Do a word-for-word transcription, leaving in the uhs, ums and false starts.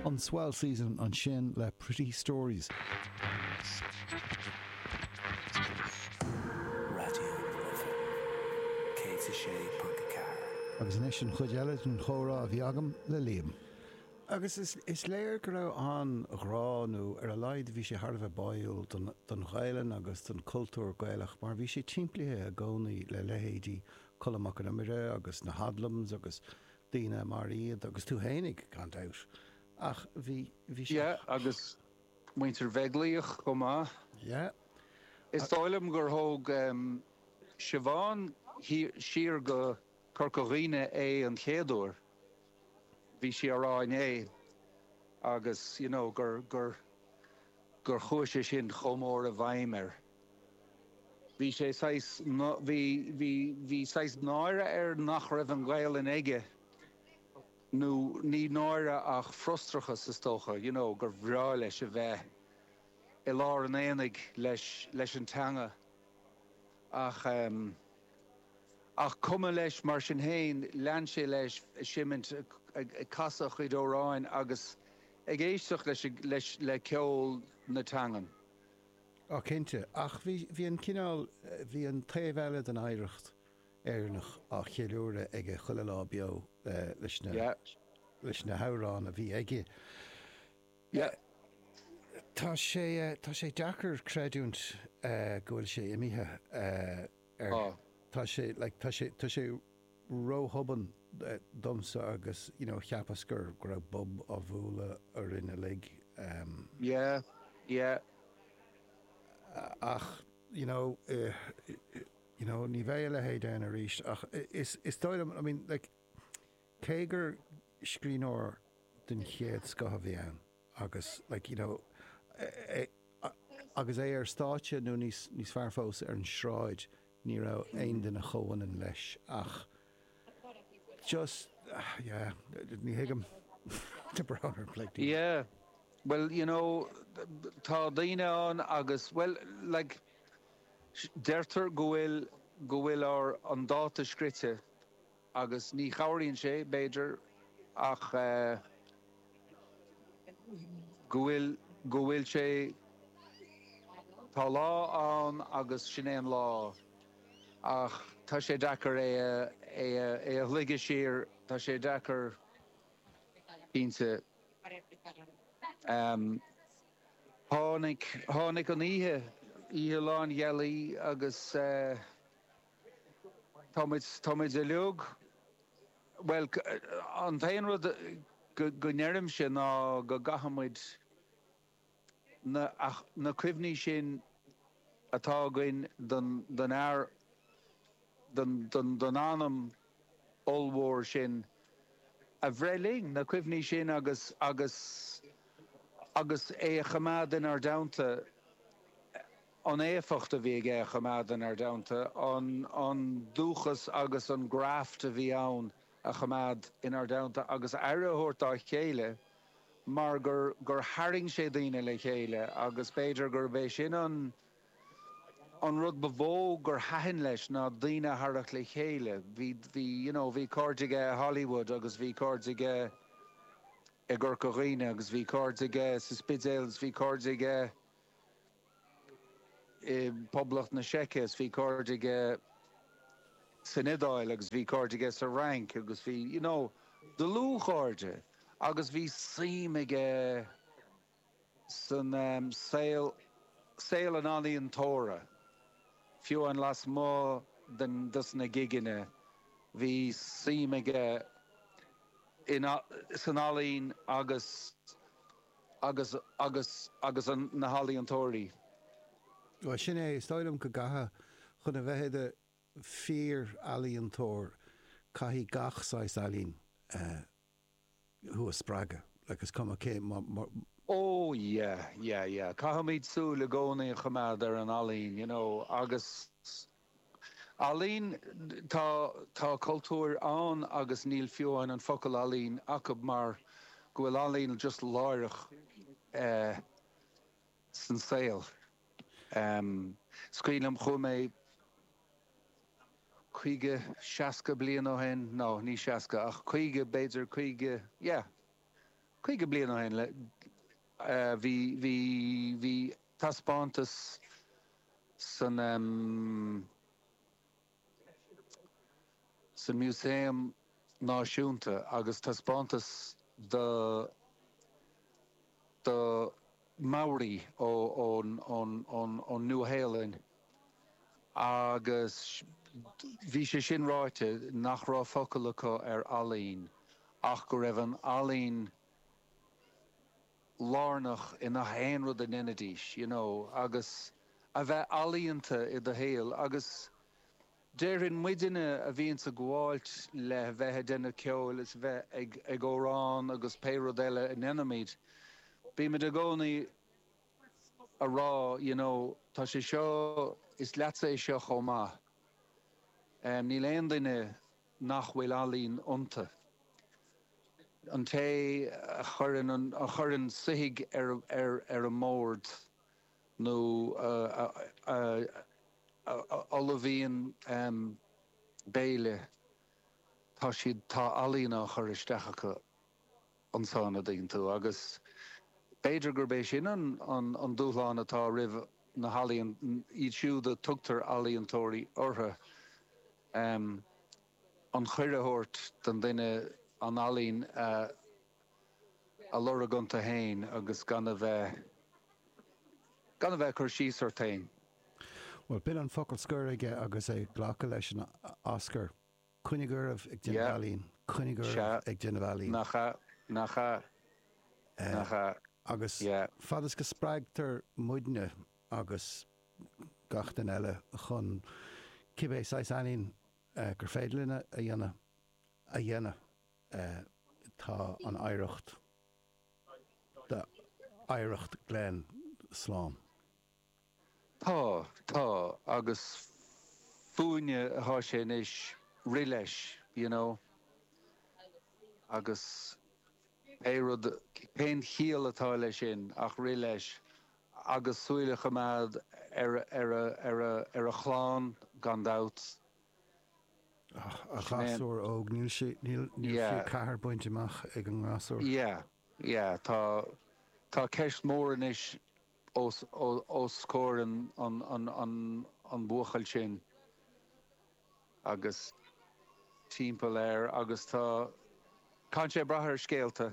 An Swell Season ansin le Pretty Stories. Raidió na Life céad a sé ponc a ceathair. Agus anois an chuid eile den chomhrá a bhí agam le Liam. Agus is, is léir go raibh an-ghrá nó ar a laghad bhí sé thar a bheith báúil don, don Ghaelainn agus don cultúr Gaelach mar bhí sé timpeallaithe i gcónaí le leithéidí Colm Mac Con Iomaire agus na Hoodlums agus daoine mar iad agus tú féinig gan dabht. Ach bhí bhí sé Yeah, agus muintir Bheaglaoich chomh maith. Yeah. Is dóigh liom gur thóg um, Siobhán siar go Corca Dhuibhne é an chéad uair. Bhí sí á rá inné agus you know, gur gur gur chuaigh sé sin chomh mór i bhfeidhm air. Bhí sé saghas bhí bhí bhí saghas náire air nach raibh an Ghaelainn aige nó ní náire ach frustrachas is dócha, you know, gur bhreá leis a bheith i lár an aonaigh leis leis an teanga ach um, ach cuma leis mar sin féin lean sé leis seimint ag casadh chuid amhráin agus ag éisteacht leis leis le ceol na teangan. Á cinnte, ach bhí bhí an cineál bhí an taobh eile den oidhreacht Éireannach á cheiliúradh aige chuile lá beo leis na Yeah. leis na hamhráin a bhí aige. Yeah. Tá sé tá sé deacair creidiúint go bhfuil sé imithe ar Tá. Tá sé like, tá sé tá sé róthobann domsa agus you know, cheapas gur go raibh bob á bhualadh orainn uilig. Um, Yeah, yeah. ach you know, uh, you know, ní bheidh a leithéid ann arís ach is is dóigh liom I mean, like, cé gur scríbhneoir den chéad scoth a bhí ann agus like, you know, é, agus é ar stáitse nó níos níos fearr fós ar an sráid ní raibh aon duine chomhionann leis ach just uh, yeah, ní thuigim tá brón orm like, Yeah. Well, you know, tá daoine ann agus well, like deirtear go bhfuil go bhfuil ár an dáta scrite agus ní chabhraíonn sé b'fhéidir ach uh, go bhfuil go bhfuil sé tá lá ann agus sin é an lá ach tá sé deacair é é é a shlogadh siar tá sé deacair cinnte um, tháinig tháinig an oíche oíche lánghealaí agus uh, táimid táimid uilig well an t-aon rud go go ndeirimse ná go gcaithfimid na ach na cuimhní sin atá againn don don fhear don don don anam ollmhór sin a bhreith linn na cuimhní sin agus agus agus é a choimeád inár dteannta an éifeacht a bhí aige a choimeád inár dteannta an an dúchas agus an graft a bhí ann a choimeád inár dteannta agus aire a thabhairt dá chéile mar gur gur tharraing sé daoine le chéile agus b'fhéidir gurb é sin an an rud ba mhó gur thaitin leis ná daoine a tharraingt le chéile bhí bhí you know bhí cairde aige Hollywood agus bhí cairde aige i gCorca Dhuibhne agus bhí cairde aige sa Spidéal agus bhí cairde aige i Poblacht na Seice is bhí cairde aige san Iodáil agus bhí cairde aige sa Fhrainc agus bhí you know dlúthchairde agus bhí suim aige san um, saol saol an ealaíontóra fiú an lasmuigh den dos na gigeanna bhí suim aige in san ealaín agus agus agus agus an na healaíontóirí. Well sin é is dóigh liom go gcaithfidh chun a bheith i do fhíor-ealaíontóir caithfidh gach saghas ealaín uh, thú a spreagadh agus cuma cé Oh yeah, yeah, yeah. Caithfimid súil i gcónaí a choimeád ar an ealaín, you know, agus ealaín tá tá cultúr ann agus níl fiú an an focal ealaín acu mar go bhfuil ealaín just láithreach uh, san saol. Um, Is cuimhin liom chuaigh mé caoga seasca bliain ó shin nó ní seasca ach caoga b'fhéidir caoga yeah. caoga bliain ó shin le bhí bhí bhí taispeántas san um, san Músaem Náisiúnta agus taispeántas de de Maori ó ón ón ón ón Nua-Shéalainn agus bhí sé sin ráite nach raibh focal acu ar ealaín ach go raibh an ealaín lárnach i ngach aon rud a ndéanaidís, you know, agus a bheith ealaíonta i do shaol agus déarfainn muidne a bhíonns ag gabháilt le bheith ag déanamh ceoil is bheith ag ag amhrán agus pé rud eile a ndéanaimid, bímid i gcónaí a rá, you know, tá sé seo, is leatsa é seo chomh maith. Um, níl aon duine nach bhfuil ealaín iontu. An té a chuireann an, a chuireann soithigh ar, ar, ar an mbord nó a, a, a, a, a ullmhaíonn um, béile, tá siad, tá ealaín á chur isteach acu ansan a dtuigeann tú agus b'fhéidir gurb é sin an, an, an dúshlán atá roimh na healaíon, iad siúd a tugtar ealaíontóirí orthu, um, an cuireadh a thabhairt don duine an ealaín a, a lorg iontu féin agus gan a bheith, gan a bheith ag cur síos ort féin. Bhuel, b'in an focal scoir aige agus é ag glacadh leis an Oscar. Coinnigh oraibh ag déanamh ealaín. Coinnigh oraibh ag déanamh ealaín. Nach ea, nach ea, nach ea. Agus fad is go spreagtar muidne agus gach duine eile chun cibé saghas ealaín gur féidir linn a dhéanamh, a dhéanamh, tá an oidhreacht d'oidhreacht Glen slán. Tá, tá, agus fúinne atá sé anois rith leis, you know, agus pé rud, pén chiall atá leis sin ach rith leis agus súil a choimeád ar, ar a, ar a, ar a chlann gan dabht. Ach, a ghasúr óg, níl sé, níl, níl fiú ceathair bainte amach ag an ngasúr. Yeah, yeah, tá, tá ceist mhór anois os, os comhair an, an, an, an, an bhuachaill sin agus timpeall air agus tá, caithfidh sé brath ar scéalta.